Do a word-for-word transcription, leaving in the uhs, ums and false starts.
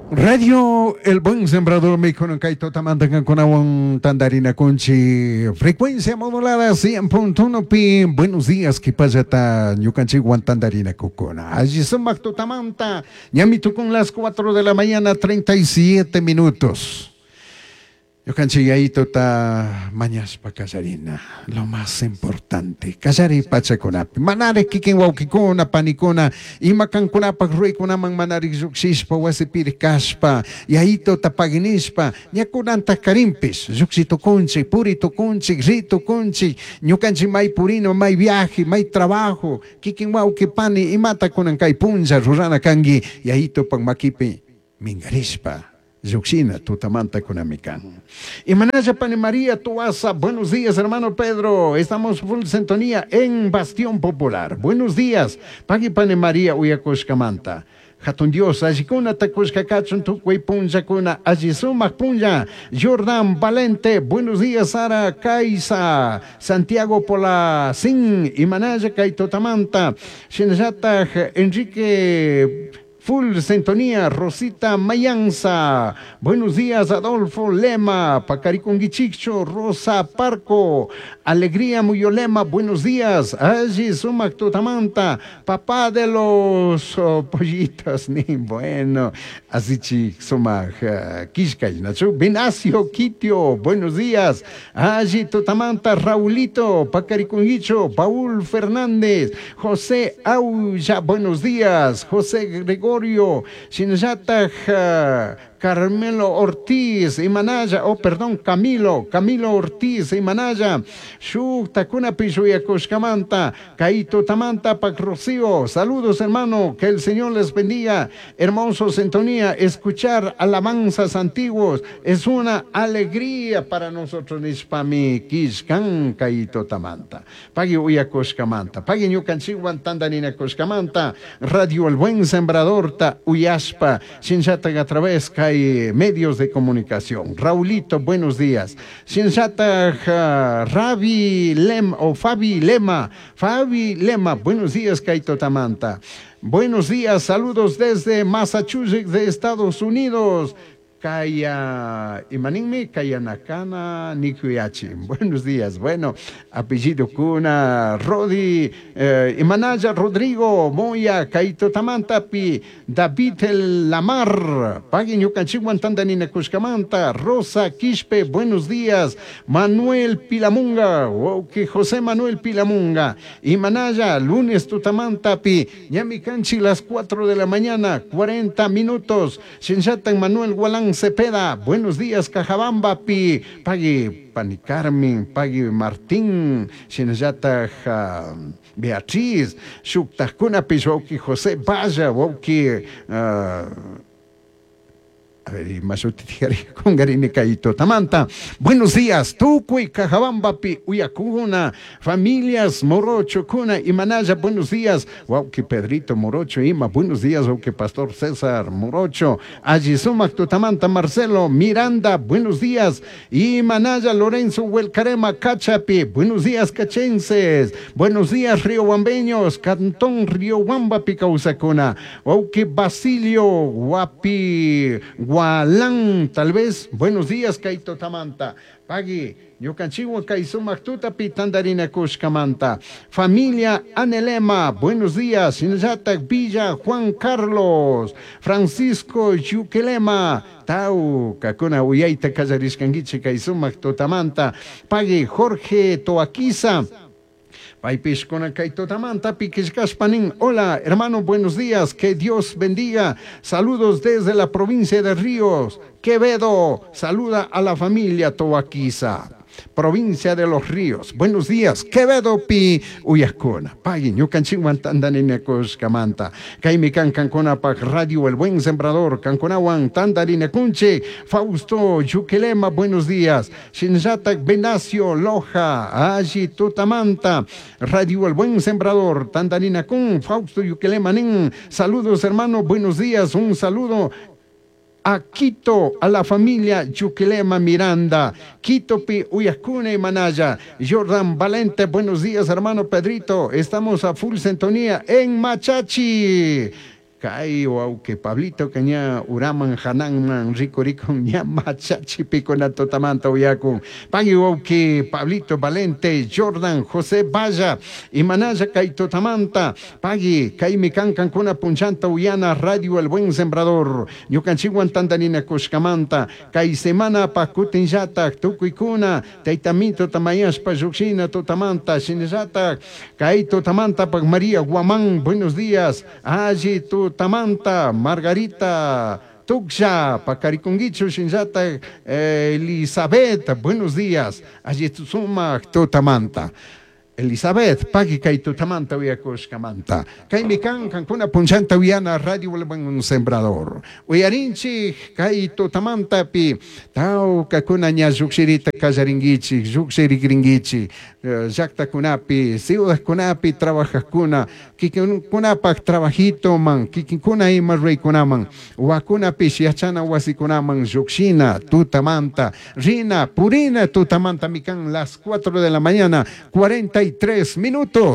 Radio El Buen Sembrador Mikunan kay tutamanta kankunawan tandarina kunchi frecuencia modulada cien punto uno pi. Buenos días, kipallata ñukanchikwan tandarina kukuna. Allí sumak tutamanta ñami tukun las cuatro de la mañana treinta y siete minutos. Ñukanchik yayituta mañashpa kallarina, lo más importante, kallari pachakunapi, manari kikin wawkikuna, panikuna, ima kankunapak ruykunaman manari llukshishpa, wasipiri kashpa, yayituta paginishpa, ñakunanta karinpish, llukshi tukunchik, puri tukunchik, ri tukunchik, ñukanchik may purino, may viaje, may trabajo, kikin wawki pani, imata kunan kay punlla rurana kanki, yayitupak makipi mingarishpa. Llukshina tutamanta kunami kan. Imanaya Pani María Tuasa, buenos días hermano Pedro, estamos full sintonía en Bastión Popular. Buenos días, Pagui Pani María uyakushkamanta. Hatun Dios, allikuna takushka kachun tukuy punllakuna, alli sumak punlla. Jordan Valente, buenos días Sara Kaisa, Santiago Polacín, Imanaya kay tutamanta. Shinallataj Enrique Full sintonía, Rosita Mayanza. Buenos días, Adolfo Lema, Pacariconguichicho, Rosa Parco, Alegría Muyolema, buenos días. Allí Sumac Tutamanta, papá de los oh, pollitos, ni bueno. Así chi Sumac uh, Quiscay, Nacho. Venacio Quitio, buenos días. Allí Tutamanta, Raulito, Pacariconguicho, Paul Fernández, José Aulla, buenos días. José Gregorio, Shinyataj, uh, Carmelo Ortiz, Imanaya, oh perdón, Camilo, Camilo Ortiz, Imanaya, Shuk Takuna Pishuyakushkamanta, Kaito Tamanta, Pac Rocío, saludos hermano, que el Señor les bendiga, hermoso sintonía, escuchar alabanzas antiguos es una alegría para nosotros, Nishpami, Kishkan, Kaito Tamanta, Pagui Uyakushkamanta, Pagui Ñukanchiwan Tandanina Kushkamanta, Radio El Buen Sembrador, Ta Uyashpa, Shinshata a través, Kai medios de comunicación. Raulito, buenos días. Shinshata uh, Ravi Lem o Fabi Lema, Fabi Lema, buenos días, Kaito Tamanta. Buenos días, saludos desde Massachusetts de Estados Unidos. Kaya Imaninmi, Kaya Nakana Nikuyachi. Buenos días. Bueno, apellido Kuna, Rodi, eh, Imanaya Rodrigo, Moya, Kaito Tamantapi, David El Lamar, Pagui Ñukanchiwan Tandanina Kushkamanta, Rosa Quispe, buenos días. Manuel Pilamunga, okay, José Manuel Pilamunga, Imanaya, lunes Tutamantapi, Ñamicanchi, las cuatro de la mañana, cuarenta minutos. Shinshatan Manuel Gualán Cepeda, buenos días, Cajabamba, Pi, Pagui Pani Carmen, Pagui Martín, Shinayata uh, Beatriz, Shuktajkuna Pishwauki José Vaya, Wauki, uh, a ver, Tamanta. Buenos días, Tucuy, Cajabamba, Pi, Uyacuna, familias Morocho, Cuna y Manaya, buenos días. Wauki Pedrito Morocho, Ima, buenos días, Wauki Pastor César Morocho, Ayisumac, Tutamanta, Marcelo Miranda, buenos días. Y Manaya, Lorenzo Huelcarema, Cachapi, buenos días, cachenses. Buenos días, riobambeños, Cantón Riobamba, Picausacuna. Wauki Basilio, Guapi, Gualán, tal vez. Buenos días, Kaito Tamanta. Pagui, Ñukanchiwan Kaisumak Tutapi, Tandarina Kushkamanta. Familia Anelema, buenos días. Shinyatak Villa, Juan Carlos, Francisco Yukelema, Tau, Kakuna Uyaita Kallarishkanguichi, Kaisumak Tutamanta. Pagui, Jorge Toaquiza. Paipishkuna Kaito Tamanta, Piquishkashpanin. Hola, hermano, buenos días. Que Dios bendiga. Saludos desde la provincia de Ríos. Quevedo, saluda a la familia Toaquiza. Provincia de los Ríos. Buenos días. Quevedo pi uyakuna. Pagui ñukanchikwan tandarina kushkamanta. Kaymi kan kankuna pak Radio El Buen Sembrador. Kankunawan tandarina kunche. Fausto Yukelema, buenos días. Shinyatak Venacio Loja. Allí Tutamanta. Radio El Buen Sembrador. Tandarina kun. Fausto Yukelema nin. Saludos, hermano. Buenos días. Un saludo a Quito, a la familia Yuquilema Miranda, Quito Pi Uyascune y Manaya, Jordan Valente, buenos días hermano Pedrito, estamos a full sintonía en Machachi. Kay wawqi Pablito ña uraman hananman rikurikun ña machachipikuna tutamanta uyakun. Pagui wawqi Pablito Valente, Jordan, José Valla, imanalla kay tutamanta, pagui kaymi kan kankuna punchanta uyana Radio El Buen Sembrador, ñukanchikwan tantarinakushkamanta, kay semana pa kutinllatak tukuykuna tayta Mito tamayashpa llukshina tutamanta, shinallatak kay tutamanta pak María Guamán, buenos días, alli tutamanta, Margarita Tuksha, Pacariconguicho, Shinjata, Elizabeth, buenos días, alli sumak tutamanta. Elizabeth, pagui kay tutamanta uyakushkamanta. Kaymi kan kankuna punchanta uyana Radio El Buen Sembrador. Uyarinchik kay tutamantapi tawkakuna ña llukshirita kallarinkichik, llukshirikrinkichik, llaktakunapi, ciudadkunapi trabajajkuna, kikinkunapak trabajitoman, kikinkuna ima ruraykunaman, wakunapish yachana wasikunaman llukshina tutamanta, rina, purina tutamanta mikan las cuatro de la mañana, cuarenta y tres minutos.